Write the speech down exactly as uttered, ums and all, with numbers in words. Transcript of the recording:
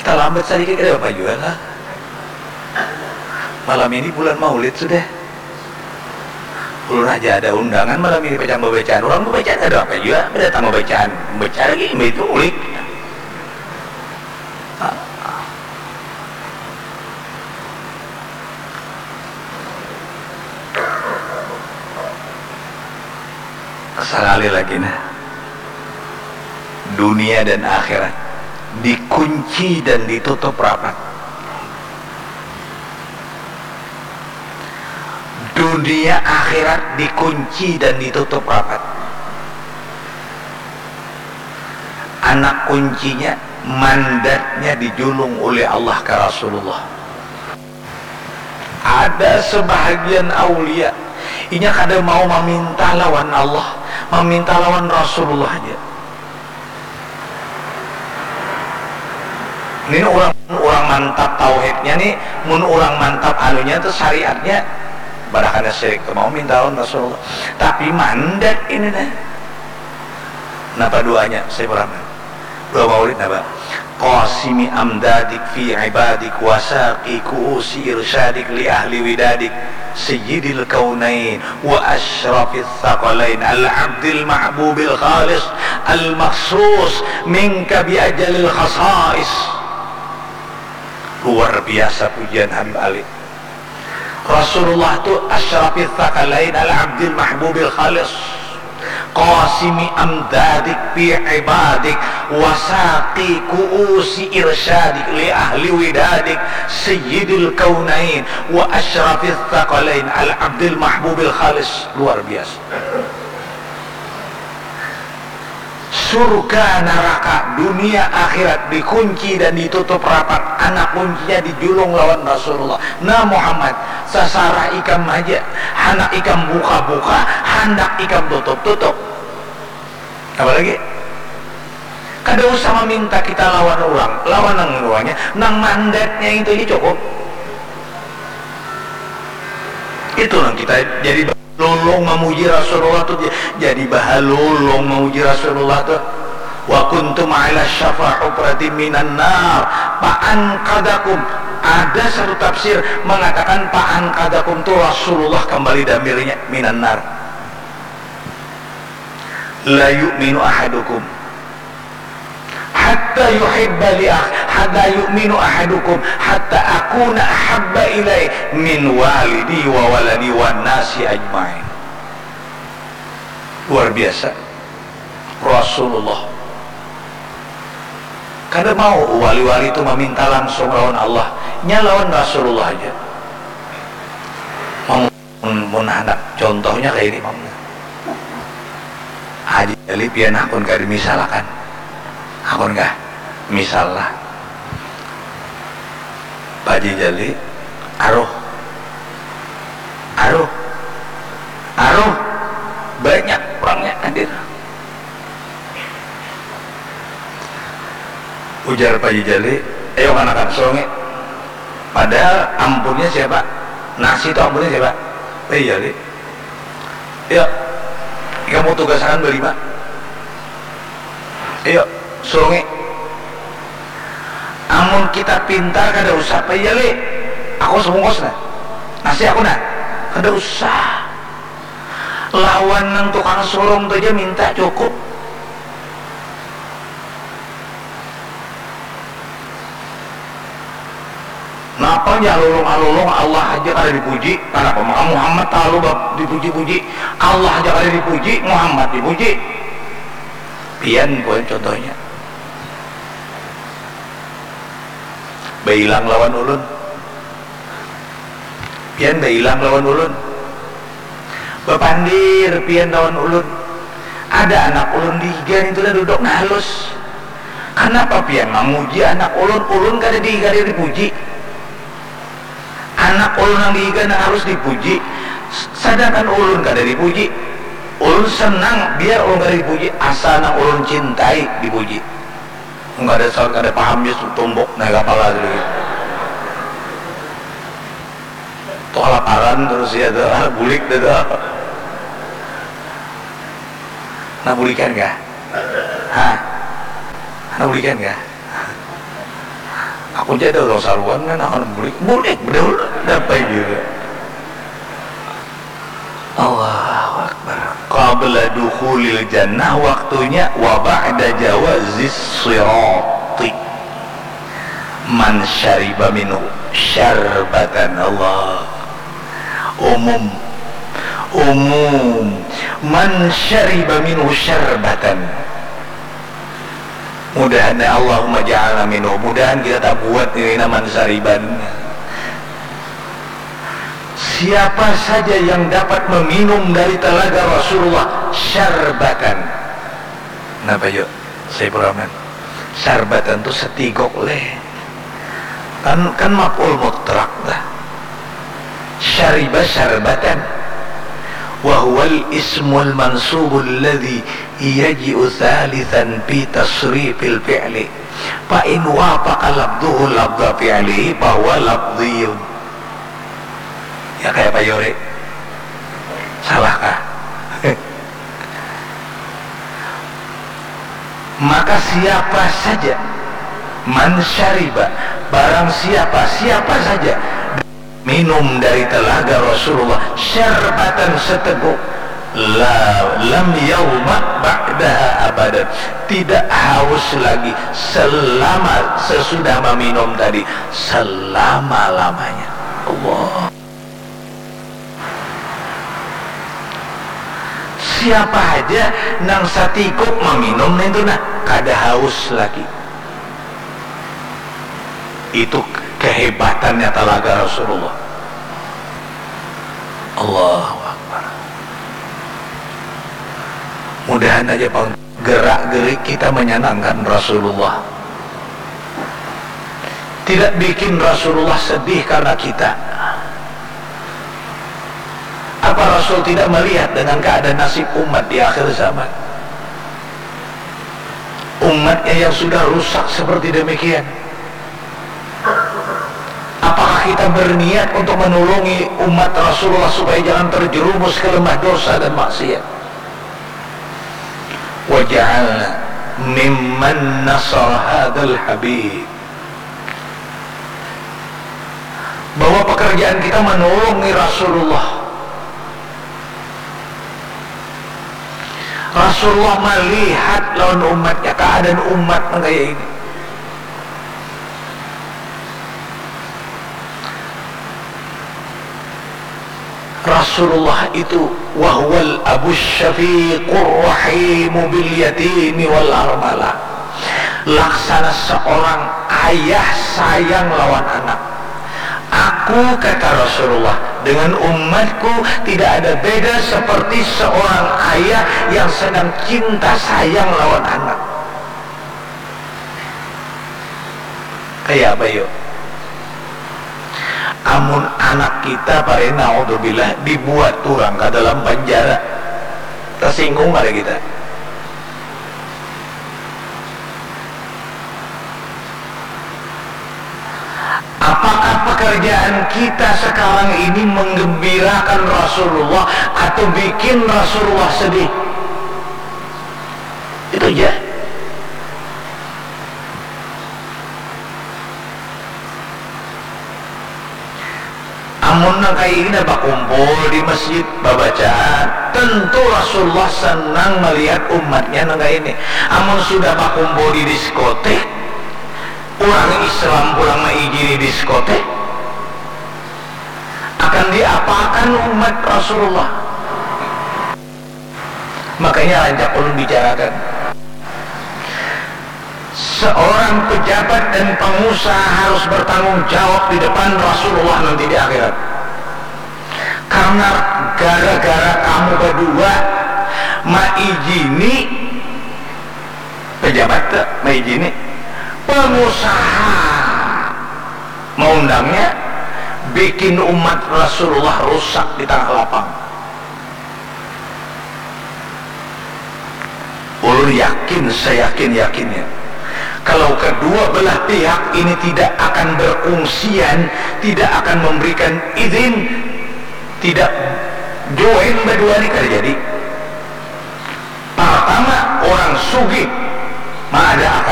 Talambat sadikit kada apa jua lah. Malam ini bulan maulid sudah. Ulun haja ada undangan malam ini pacang babacaan. Urang babacaan kada apa jua, badatang babacaan. Baca lagi, imbah itu ulik. Sakali lagi nah, dunia dan akhirat dikunci dan ditutup rapat. Dunia akhirat dikunci dan ditutup rapat. Anak kuncinya, mandatnya dijulung ulih Allah ka Rasulullah. Ada sebahagian aulia, inya kada mau maminta lawan Allah, maminta lawan Rasulullah haja. Ini urang, urang mantap tauhidnya nih, mun urang mantap anunya tuh syariatnya, pada kada syirik tuh mau minta lawan Rasulullah. Tapi mandat ini nah. Napa duanya Sayyidina Muhammad? Dua maulid napa? Qasimi amdadik fi ibadik wasaqi kuusi irsyadik li ahli widadik sayyidil kaunain wa asyrafis saqalain al abdil mahbubil khalis al makhsus minka bi ajalil khasais. Luar biasa pujian Habib Ali. Rasulullah tu asyrafis tsaqalain al abdil mahbubil khalis. Qasimi amdadik fi ibadik wasaqi kuusi irsyadik li ahli widadik sayyidil kaunain wa asyrafis tsaqalain al abdil mahbubil khalis. Luar biasa. Surga, naraka, dunia, akhirat dikunci dan ditutup rapat, anak kuncinya dijulung lawan Rasulullah. Nah Muhammad, sasarah ikam haja, handak ikam buka-buka, handak ikam tutup-tutup. Apa lagi? Kada usah maminta kita lawan urang, lawan nang urangnya, nang mandatnya itu ja cukup. Itu nang kita jadi. Lolong mamuji Rasulullah tu, jadi bahalolong mamuji Rasulullah tu. Wa kuntum ala syafa hupratin minan nar fa anqadakum. Ada satu tafsir mengatakan fa anqadakum tu Rasulullah kembali damirnya minan nar. La yu'minu ahadukum hatta yuhibba li ah hatta yu'minu ahadukum hatta akuna ahabba ilai min walidi wa waladi wan nasi ajmain. Luar biasa. Rasulullah kada mau wali-wali tu maminta langsung lawan Allah, nya lawan Rasulullah haja. Mun, mun handak contohnya kaya ini pang. Haji Jali pian hakun kah dimisalakan? Hakun kah? Misal lah. Pak Haji Jali, aruh. Aruh. Aruh. Banyak urangnya hadir. Ujar Pak Haji Jali, ayo kanakan, surungi. Padahal ampunnya siapa? Nasi itu ampunnya siapa? Pak Haji Jali. Ya, ikam mau tugasakan balima. Ayo, surungi. Amun kita pintar kada usah Pak Haji Jali. Aku sabungkus nah. Nasi aku nah. Kada usah. Lawan nang tukang surung tu ja minta cukup. Napa nya halulung-halulung Allah haja kada dipuji, kanapa maka Muhammad talalu ba- dipuji-puji? Allah haja kada dipuji, Muhammad dipuji. Pian poin contohnya. Bailang lawan ulun. Pian bailang lawan ulun. Bapandir pian lawan ulun. Ada anak ulun dihiga nintu lah duduk nah halus. Kanapa pian mamuji anak ulun? Ulun kada di- kada dipuji. Anak ulun nang dihiga nang harus dipuji. Sadangkan ulun kada dipuji. Ulun senang biar ulun kada dipuji asal nang ulun cintai dipuji. Kada saur kada paham ja tumbuk naik kapala tadi. Tu kalaparan terus ya tu, bulik dah tu. Nah bulikan kah? Hah? Nah bulikan kah? Kunci ada orang saruan kan akan bulik, bulik bedahulu dapat juga. Allahu Akbar. Qabla dukhulil jannah, waktunya, wa ba'da jawazis sirati. Man syariba minhu syarbatan, Allah. Umum. Umum. Man syariba minhu syarbatan. Mudahan, Allahumma ja'alna minhu. Mudahan kita tak buat ini naman sariban. Siapa saja yang dapat meminum dari telaga Rasulullah syarbatan. Napa yuk? Saya peraman. Syarbatan tu setigok leh. Kan, kan maf'ul mutlak dah. Syariba syarbatan. Wa huwal ismul mansubul ladzi yaji'u tsalitsan fi tasrifil fi'li. Fa in wafaqa lafdhuhu lafdha fi'lihi fa huwa lafdhiyun. Ya, kaya apa, Yori? Salah kah? Maka siapa saja, man syariba, barang siapa, siapa saja minum dari telaga Rasulullah syarbatan seteguk, la, lam yadhma ba'daha abadan, tidak haus lagi selama sesudah meminum tadi, selama-lamanya. Allah. Siapa haja nang satikuk maminum nintu nah, kada haus lagi. Itu kehebatannya talaga Rasulullah. Allahu Akbar. Mudahan aja pang gerak-gerik kita menyenangkan Rasulullah. Tidak bikin Rasulullah sedih karena kita. Apa Rasul tidak melihat dengan keadaan nasib umat di akhir zaman? Umatnya yang sudah rusak seperti demikian. Apakah kita berniat untuk menolongi umat Rasulullah supaya jangan terjerumus ke lembah dosa dan maksiat? Waj'alna mimman nasara hadzal habib. Bahwa pekerjaan kita menolongi Rasulullah. Rasulullah melihat lawan umatnya, keadaan umat nang kaya ini. Rasulullah itu, wa huwal abus syafiqur rahimu bil yatimi wal armalah. Laksana seorang ayah sayang lawan anak. Aku, kata Rasulullah, dengan umatku tidak ada beda seperti seorang ayah yang sedang cinta sayang lawan anak. Kaya apa yuk? Amun anak kita, pare, naudzubillah, dibuat urang ka dalam panjara, tasinggung kada kita? Apakah pekerjaan kita sekarang ini menggembirakan Rasulullah atau bikin Rasulullah sedih? Itu aja. Amun nang kaya ini nah bakumpul di masjid babacaan, tentu Rasulullah senang melihat umatnya nang kaya ini. Amun sudah bakumpul di diskotik, urang Islam pulang maijini diskotik, akan diapakan umat Rasulullah? Makanya rancak ulun bicarakan, seorang pejabat dan pengusaha harus bertanggung jawab di depan Rasulullah nanti di akhirat. Karena gara-gara kamu berdua maijini, pejabat tu maijini, pengusaha maundangnya, bikin umat Rasulullah rusak di tangah lapang. Ulun yakin, seyakin-yakinnya, kalau kedua belah pihak ini tidak akan berkungsian, tidak akan memberikan izin, tidak join berdua ni, kada jadi. Pertama, orang sugih maada